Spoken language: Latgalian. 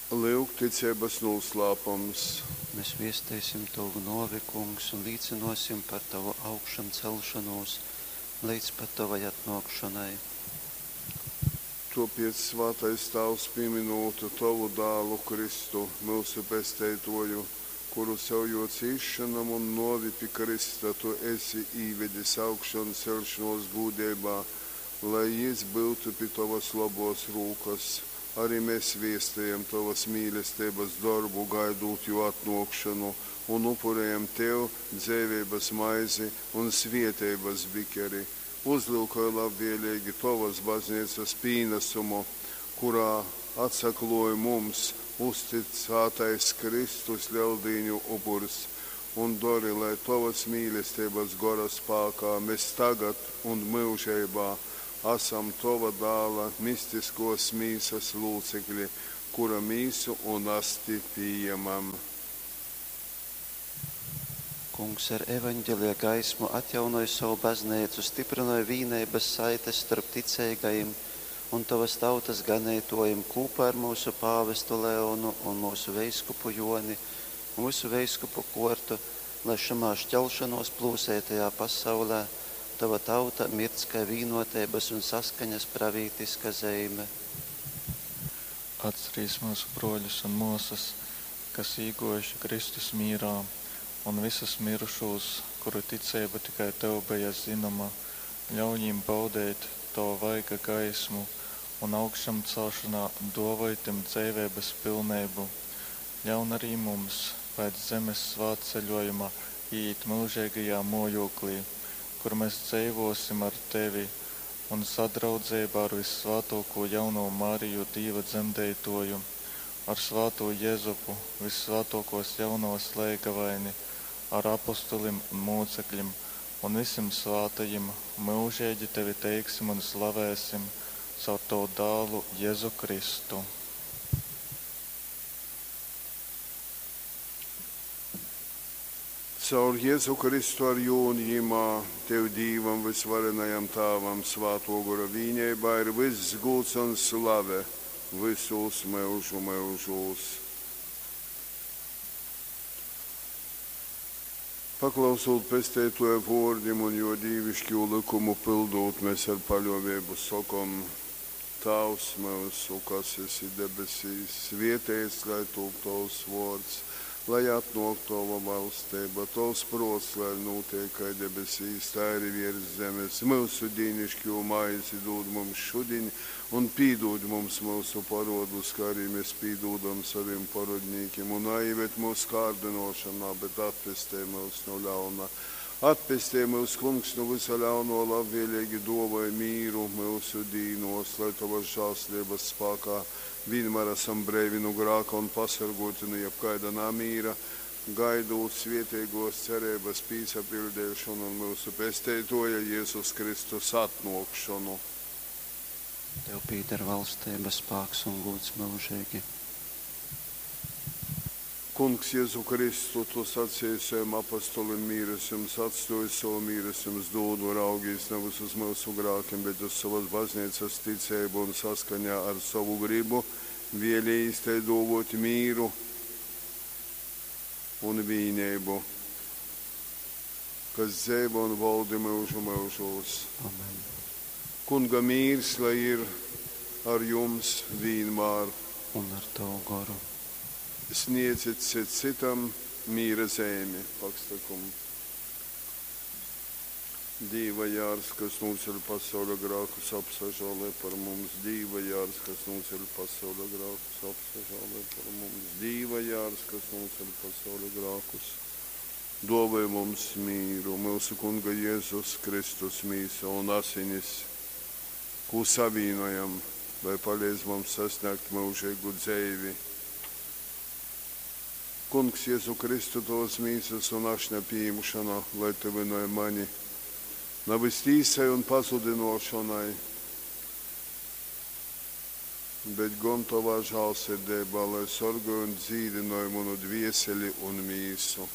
Lyuk ticeibas nūslāpums. Mes viesteisim Tovu nōvi, Kungs, un līcynōsim par Tovu augšamceļšonūs leidz pat Tovai atnōkšonai. Tōpēc, svātais Tāvs, pīmynūt Tovu Dālu Kristu, myusu Pesteitōju, kuru caur Jō cīsšonom un nōvi pi krysta Tu esi īvedis augšanceļšonōs gūdeibā, lai Jys byutu pi Tovas lobōs rūkas, ari mes viestejam Tovas mīlesteibas dorbu, gaidūt Jō atnōkšonu, un upurejam Tev dzeiveibas maizi un svēteibas bikeri. Uzlyukoj labvēleigi Tovas Bazneicas pīnasumu, kurā atsaklōj mums uztycātais Kristus Leldīņu upurs, un dori, lai Tovas mīlesteibas Gora spākā mes tagad un myužeibā asam Tova Dāla mistiskōs mīsas lūcekli, kura mīsu un asti pījemam. Kungs ar evaņgelija gaismu atjaunoj sovu Bazneicu, styprynoj vīneibas saites storp ticeigajim un Tovas tautas ganeitōjim kūpā ar myusu pāvestu Leonu un myusu veiskupu Jōni un vysu veiskupu kōrtu, lai šamā šķelšanōs plūseitajā pasaulē Tova tauta mirdz kai vīnoteibas un saskaņas pravītiska zeime. Atcerīs myusu brōļus un mōsas, kas īgōjuši Kristus mīrā, un vysus myrušūs, kuru ticeiba tikai Tev beja zynoma, ļauj jim baudeit Tova vaiga gaismu un augšamceļšonā dōvoj tim dzeiveibas pilneibu. Ļaun arī mums pēc zemes svātceļōjuma īīt myužeigajā mōjūklī, kur mes dzeivōsim ar Tevi un sadraudzeibā ar vyssvātōkū Jaunovu Mariju, Dīva Dzemdeitōju, ar svātū Jezupu, vyssvātōkōs Jaunovas leigavaini, ar apostolim un mūcekļim un vysim svātajim myužeigi Tevi teiksim un slavēsim caur Tovu Dālu Jezu Kristu. Caur Jezu Kristu ar Jū un Jymā, Tev Dīvam vysvarenajam Tāvam Svātō Gora vīneibā ir vyss gūds un slave vysūs myužu myužūs. Paklausūt Pesteitōja vōrdim un Jō dīviškū lykumu pyldūt, mes ar paļōveibu sokom, Tāvs myusu, kas esi debesīs, svēteits lai tūp Tovs vōrds, lai atnōk Tova valsteiba, Tovs prōts lai nūteik kai debesīs, tai arī viers zemes. Myusu dīniškū maizi dūd mums šudiņ, un pīdūd mums myusu parodus, kā arī mēs pīdūdam savim parodnīkim, un naīved mūsu kārdinošanā, bet atpestej mūs no ļauna. Atpestej mūs, Kungs, no visa ļauno, labvēlīgi dāvāj mīru myusu dīnos, lai Tavas žēlastības spākā vienmēr esam breivi no grāka un pasargoti no jebkaida namīra, gaidot svētīgos cerības pīsapildīšanu un mūsu Pesteitoja Jēzus Kristus atnākšanu. Tev pīder valstība, spāks un gūds mūžīgi. Kungs, Jēzu Kristu, tu sacīji saviem apostolim mīras jums atstoju savu mīras jums dūdu, raugīs nevis uz mūsu grākiem, bet uz savas baznīcas ticību un saskaņā ar savu gribu vēlējis te dāvot mīru un vīnību, kas dzīvo un valdi mūžu mūžos. Amen. Kunga mīrs, lai ir ar jums vienmēr. Un ar Tavu goru. Sniedzit cits citam mīra zīmi, pakstakumu. Dīva jārs, kas nūceļ pasaules grākus, apsažālē par mums. Dīva jārs, kas nūceļ pasaules grākus, apsažālē par mums. Dīva jārs, kas nūceļ pasaules grākus, dāvāj mums mīru, mūsu Kunga Jēzus Kristus mīsa un asinis, ko savīnojam, lai palīdz mums sasniegt mūžīgu dzīvi. Kungs, Jēzu Kristu, tovas mīsas un ašņa pieņemšana, lai tuvināj mani, nevis tīsai un pazudinošanai, bet gan tovā žālsirdībā, lai sorgoj un dzīdinoj manu dvieseli un mīsu.